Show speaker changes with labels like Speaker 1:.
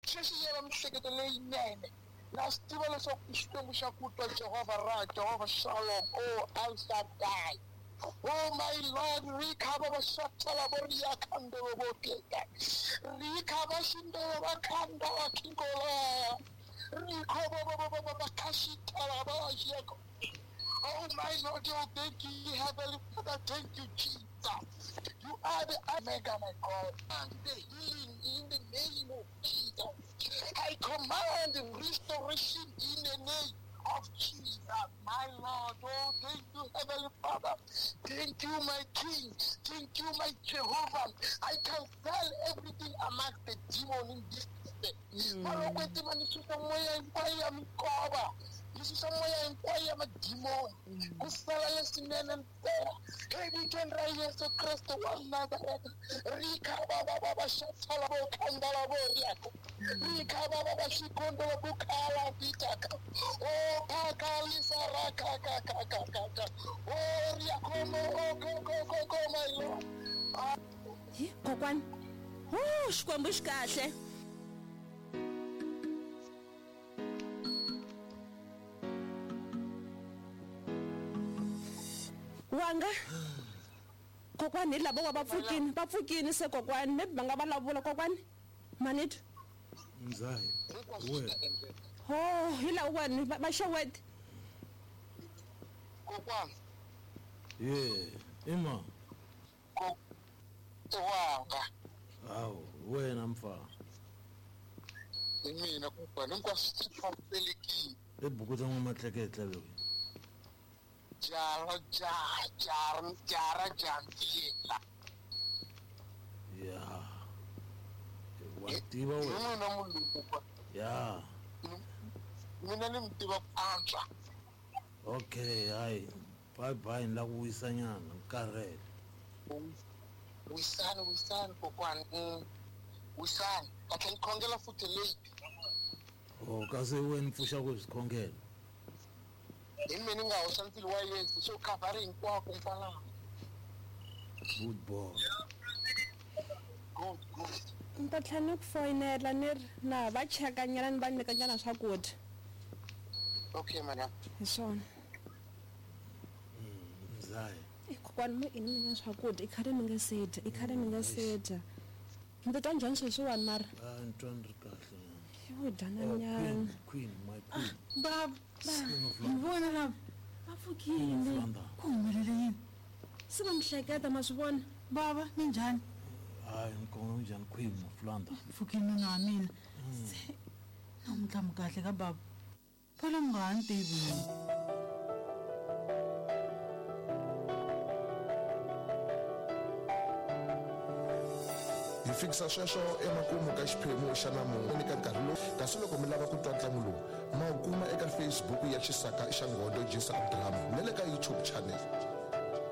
Speaker 1: Sweswi yena mihleketo leyinene. Na swi tiva leswaku i Xikwembu xa ku twa, Jehovha Ra, Jehovha Shalom, oh, El Shaddai. Oh my Lord, rikha va va xatsala vo riya khandolo vo teka. Rikha va xindolo va khanda va khingola. Rikho va va va va va va khashitala va yeko. Oh my Lord, oh thank you, Heavenly Father, thank you, Jesus. You are the Omega, my God, and the healing in the name of Jesus. I command restoration in the name of Jesus, my Lord. Oh, thank you, Heavenly Father. Thank you, my King. Thank you, my Jehovah. I can sell everything amongst the demon in this system. Valokweti ni susa moya hinkwayo ya minkova, ni susa moya hinkwayo ya madimoni, ku sala leswinene ntsena evitweni ra Yesu Kreste wa Nazareta. Rikha va va va va xatsala vo khandala vo riako, rikha va va va xikondo vo khala vitaka, o phakalisa ra ka ka ka ka ka ka, o riakomo o ko ko ko ko, my Lord.
Speaker 2: Hi, kokwani. Huu, Xikwembu xi kahle. Wanga. Kokwani hi lava wa va pfukini, va pfukini se kokwani, maybe va nga vulavula kokwani. Manito.
Speaker 3: Mzaya. We.
Speaker 2: Oh, hi lawani va va xeweti.
Speaker 1: Kokwani.
Speaker 3: Yeah, ima.
Speaker 1: Ko wanga.
Speaker 3: Hawu, wena mfana.
Speaker 1: Hi mina kokwani, hinkwaswo swi tshamisekile.
Speaker 3: I buku ta n'wamatleketla loyi.
Speaker 1: Jara ja jara jara jantiyela.
Speaker 3: Ya. Wa tiva
Speaker 1: Hi
Speaker 3: wena.
Speaker 1: n'wina munhu kokwani.
Speaker 3: Ya.
Speaker 1: Mina ni mi tiva ku antswa.
Speaker 3: Okay, hayi. Bye bye, ni la ku wisa nyana, ni karhele.
Speaker 1: Wisani, wisani kokwani. Wisani. Kahle ni khongela futhi late.
Speaker 3: Oh, kasi wena pfuxa ku swi khongela.
Speaker 1: Hi mina ni nga hoxa ndzilo wa Yesu, swo khavhari hinkwako kwalaho.
Speaker 3: Good boy.
Speaker 1: Good, good.
Speaker 2: Ni ta tlhela ni ku foyinela ni ri na va chekanyana ni va nyikanyana swakudya.
Speaker 1: Okay, madam.
Speaker 2: Hi swona.
Speaker 3: Mzaya.
Speaker 2: Eh, kokwani mo ini mi nga swakudya, i khale mi nga se dya, i khale mi nga se dya. Mi titwa njhani sweswiwani mara?
Speaker 3: Ah, ni twa ni ri kahle.
Speaker 2: Yo dyana
Speaker 3: Oh,
Speaker 2: nyana.
Speaker 3: queen, queen, my queen.
Speaker 4: Baba,
Speaker 3: Queen of
Speaker 4: mi
Speaker 3: London.
Speaker 4: vona lava
Speaker 2: Va
Speaker 3: Queen of
Speaker 2: pfukile.
Speaker 3: London.
Speaker 4: ku humelele yini?
Speaker 2: Se va mi hleketa ma swi vona?
Speaker 4: Baba, minjhani?
Speaker 3: Hayi, ni kona njhani Queen of London.
Speaker 4: Pfukile nuna wa mina. Se namuntlha mi kahle ka baba. Phela mi nga ha ni tivi mina.
Speaker 5: Hi fikisa sweswo emakumu ka xiphemu xa namuntlha ni ka nkarhi lowu. Kasi loko mi lava ku twa ntlangu lowu, ma wu kuma eka Facebook ya Xisaka xa Nghondo Jisa Drama na le ka YouTube channel.